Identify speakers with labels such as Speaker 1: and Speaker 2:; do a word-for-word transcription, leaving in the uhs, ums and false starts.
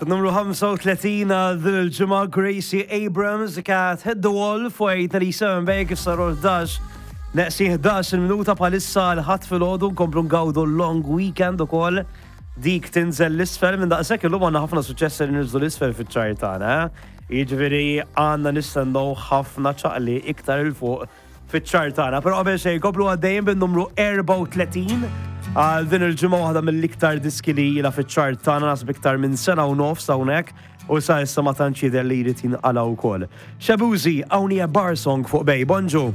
Speaker 1: Numru ħamsa u tletin għal din il-ġimgħa, Gracie Abrams, Cat Hit the Wall fuq tmienja u sebgħin Bay, kif saru ħdax neqsin ħdax il-minuta bħalissa l-Ħadd filgħodu. Nkomplu ngawdu long weekend ukoll. Dik tinżel 'l isfel minn daqshekk. Illum għandna ħafna suċċess li niżlu 'l isfel fiċ-chart tagħna, eh? Jiġifieri għandna nistennew ħafna ċaqli iktar 'il fuq fiċ-chart tagħna. Però qabel xejn komplu għaddejjin bin-numru erbgħa u tletin għal din il-ġimgħa, waħda mill-iktar diski li ilha fiċ-chart tagħna, nasib iktar minn sena u nofs hawnhekk u sa issa ma tantx jidher li jrid jinqala wkoll. Shaboozey, Only a Bar Song fuq Bay. Bonġu.